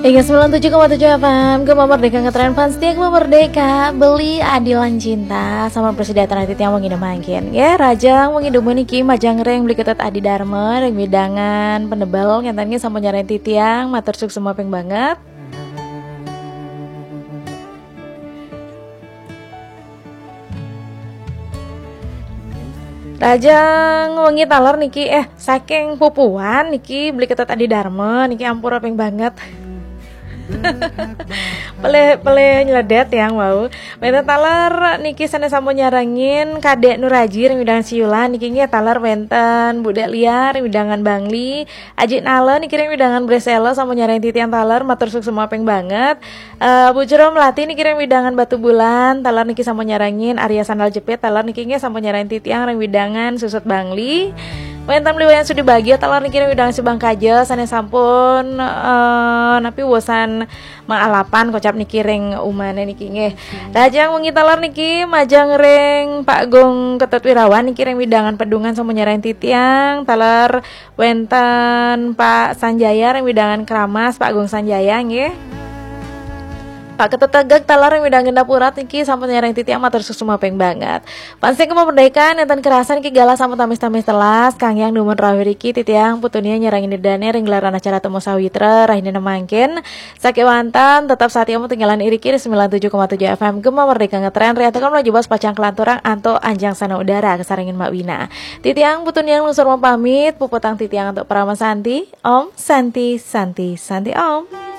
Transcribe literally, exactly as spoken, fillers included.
Ingat sembilan tujuh koma tujuh F M, Gema Merdeka ngetren fans setia Gema Merdeka, beli adilan cinta sama presiden tradit yang mengidam angin. Ya, rajang mengidam niki majang ring beli ketet Adi Dharma, ring widangan penebel, ngentennya sama nyarain titiang, matur suksma ping banget. Rajang wengi taler niki, eh, saking pupuan niki beli ketet Adi Dharma niki ampura ping banget. Pele pele nyeledet yang wau. Wenten taler niki sana sampun nyarengin Kadek Nuraji ring widangan Siulan niki nggih taler wenten Budak Liar ring widangan Bangli, Ajik Nala niki ring widangan Bresela sampun nyarengin titiang taler matur suksma ping banget. Eh, Bu Jero Melati niki ring widangan Batu Bulan, taler niki sampun nyarengin Arya Sandal Jepit, taler niki nggih sampun nyarengin titiang ring widangan Susut Bangli. Wenten Beli Wayan Sudi Bagia, taler niki ring widangan Subang Kaja, sane sampun eh, napi wosan maalapan kocap niki ring umane niki nggih. Rajang wengi taler niki majang ring Pak Gung Ketut Wirawan niki ring widangan Pedungan sampun nyarengin titiang, taler wenten Pak Sanjaya ring widangan Keramas, Pak Gung Sanjaya nggih. Pak Ketut Tegek taler ring widangan Dapurat niki sampun nyarengin titiang matur suksma ping banget. Fans setia Gema Merdeka nenten kerasan niki galah sampun tamis-tamis telas, kang yang dumun rawuh riki titiang putunia nyarengin dane ring gelaran acara Temu Sawitra rahina mangkin. Sakewanten tetap satia ketinggalan iriki ring sembilan tujuh koma tujuh F M Gema Merdeka ngetren ri antuk menuju bas pacang kelanturang antuk anjang sana udara kasarengin Mak Wina. Titiang putunia lungsur mapamit, puputang titiang antuk parama santi. Om Santi, Santi, Santi Om.